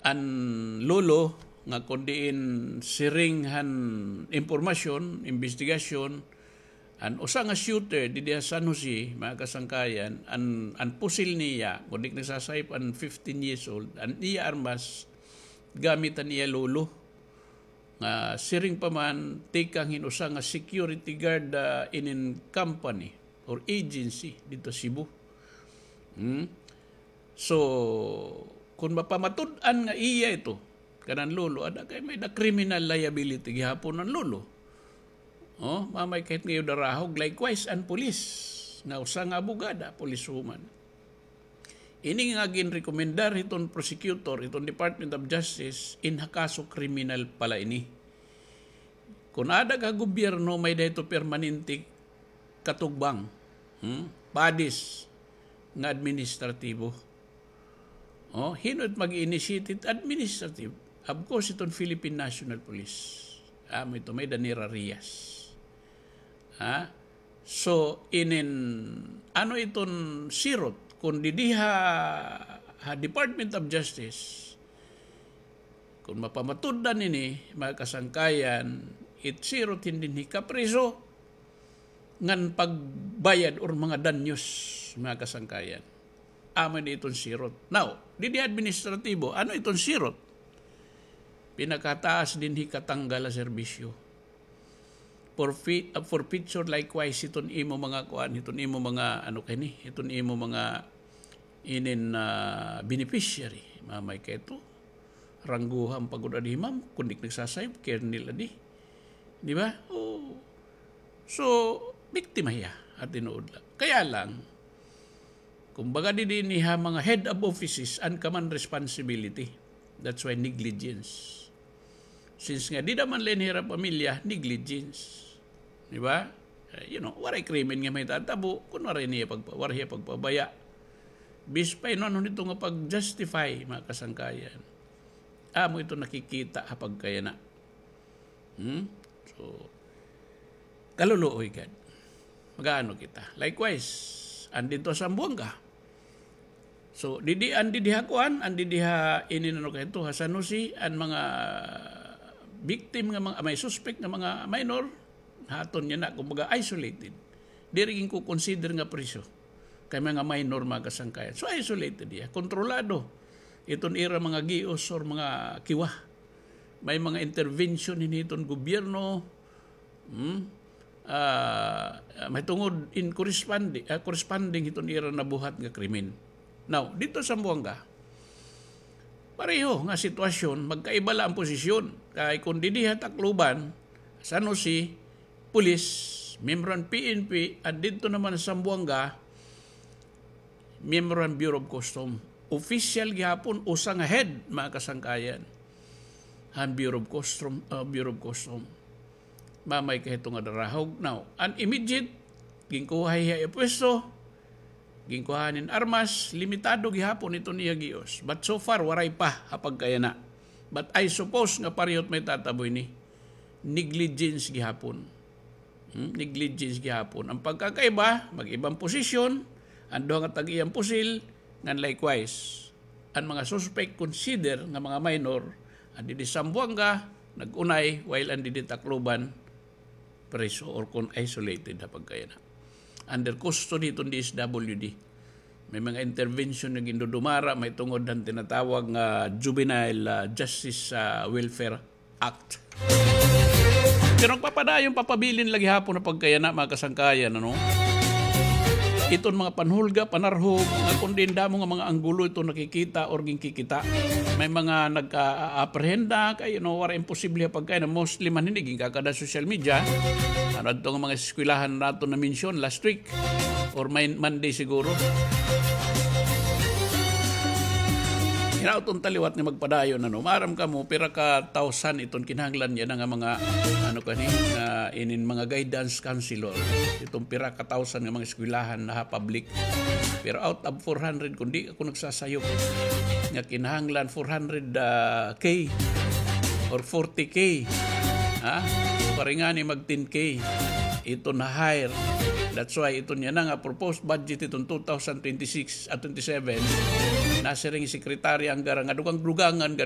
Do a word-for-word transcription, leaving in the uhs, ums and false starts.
an lolo nga kon diin siring han impormasyon, imbestigasyon, an usa nga shooter didi ha San Jose, mga kasangkayan, an, an pusil niya, kon di ak nagsasayop, an fifteen years old, an iya armas, gamit han iya lolo. Nga siring pa man, tikang hin usa nga security guard, ah, inin company or agency didto Cebu. Hmm? So, kon mapamatud-an nga iya ito, kanan lolo, ada kay may-ada criminal liability gihapon an lolo. Oh, mamay kahit ngayon darahog, likewise, an pulis, nga usa nga abogada, policewoman. Ini nga ginrekomendar hiton prosecutor, hiton Department of Justice, in ha kaso kriminal pala ini. Kon ada ka gobyerno, may-ada ito permanente katugbang, hmm? Bodies nga administratibo. Oh, hin-o it mag-initiate it administrative? Of course, iton Philippine National Police. Amo ito, may-ada nira Reyes. Ha? So, inin, ano iton sirot? Kon didi ha, ha Department of Justice, kon mapamatud-an ini, mga kasangkayan, it sirot hin dinhi kapriso, ngan pagbayad or mga danyos, mga kasangkayan. Amo ini iton sirot. Now, didi administratibo, ano iton sirot? Pinakataas dinhi katanggal ha serbisyo. For fi-, uh, forfeiture, likewise, iton imo mga kuan, iton imo mga, ano kani, iton imo mga inin, ah, beneficiary. Mamay kay ito, rangguhan pa gud adi, ma'am, kon di ak nagsasayop, colonel adi. Di ba? Oo. So, biktima hiya, ha tinuod la. Kaya lang, kumbaga, didi ini ha mga head of offices an common responsibility. That's why negligence. Since nga dida man la ini hira pamilya, negligence. Di ba? Eh, you know, waray krimen nga mahitatabo kon waray niya pagpa-, waray hiya pagpabaya. Bisan pa hin-o-ano nito nga pag-justify, mga kasangkayan. Amo ito nakikita ha pagkayana. Hmm? So, kaluluoy gad. Mag-aano kita. Likewise, an didto ha Zamboanga. So, didi, an didi ha kuan, an didi ha inin ano kay ito, ha San Jose, an mga victim nga mga, may suspect nga mga minor, ha aton yana, kumbaga isolated. Diri ginko-consider nga priso. Kay mga minor, mga kasangkayan. So, isolated iya. Kontrolado. Iton ira mga gios or mga kiwa. May mga intervention hini hiton gobyerno. Hmm? Ah, mahitungod in corresponding, ah, corresponding hiton ira nabuhat nga krimen. Now, didto ha Zamboanga, pareho nga sitwasyon, magkaiba la an posisyon. Kay kon didi ha Tacloban, San Jose, pulis, miyembro han P N P, an didto naman ha Zamboanga, miyembro han Bureau of Custom. Official gihapon, usa nga head, mga kasangkayan, han Bureau of Custom, ah, Bureau of Custom. Mamay kay ito nga darahog. Now, an immediate, ginkuha hiya iya pwesto, ginkuha hin armas, limitado gihapon iton iya gios. But so far, waray pa ha pagkayana. But I suppose nga pareho it mahitatabo ini. Negligence gihapon. Hmm, negligence gihapon. An pagkakaiba, mag-iba an posisyon, an duha nga tag-iya an pusil, ngan likewise, an mga suspect consider nga mga minor, an didi Zamboanga, nag-unay, while an didi Tacloban, preso or kon isolated ha pagkayana. Under custody iton D S W D. May mga intervention nga gindudumara, mahitungod han tinatawag nga Juvenile, ah, Justice, ah, Welfare Act. Pero nagpapadayon, papabilin la gihapon ha pagkayana, mga kasangkayan, ano? Iton mga panhulga, panarhog, nga kon diin damo nga mga anggulo ito nakikita or ginkikita. May mga nagka-, ah, aprehenda, kay, you know, waray imposible ha pagkayana, mostly man hini, ginkakada social media. Ano adto nga mga eskwelahan naton na-mention last week? Or may Monday siguro. Hinaot unta liwat nga magpadayon, ano, maaram kamo, pira ka thousand iton kinahanglan yana nga mga, ano kani, nga inin mga guidance counselor. Iton pira ka thousand nga mga eskwelahan na ha public. Pero out of four hundred, kon di ako nagsasayop, nga kinahanglan four hundred, ah, K or forty K. Ha? Pareho ngani mag ten K. Iton na-hire. That's why iton yana nga proposed budget iton two thousand twenty-six at twenty-seven, nasiring Secretary Angara nga dugang-dugangan nga